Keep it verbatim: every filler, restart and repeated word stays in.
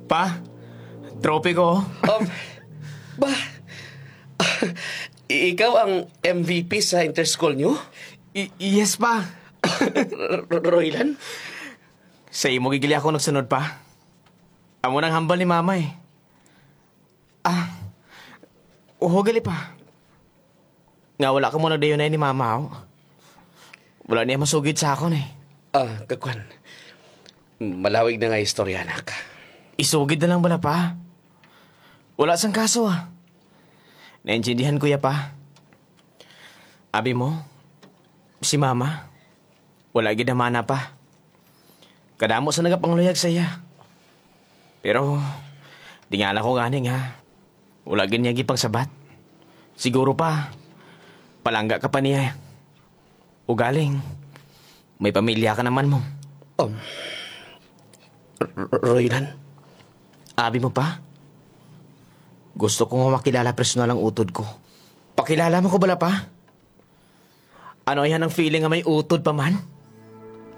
Pa, trophy ko. Um, ba? Ikaw ang M V P sa interschool nyo? Y- yes, pa. R- Roylan? Sa imo gid gali ako nagsunod, pa. Amo nang hambal ni mama, eh. Ah, uho gali, pa. Nga wala ka mo nagdayunay ni mama, oh. Wala niya masugid sa akon, eh. Ah, kakwan. Malawig na nga istorya, anak. Isugid na lang bala, pa. Wala sang kaso, ah. Naintindihan ko ya, pa. Abi mo, si mama, wala gid na mana, pa. Kadamo sa nagapangluyag sa iya. Pero, tingala ko gani nga, wala gid niya gipangsabat. Siguro pa, palangga ka pa niya. Ugaling, may pamilya ka naman mo. Um, R- R- Roylan? Abi mo pa? Gusto ko nga makilala personal ang utod ko. Pakilala mo ko bala pa? Ano yan ang feeling nga may utod pa man?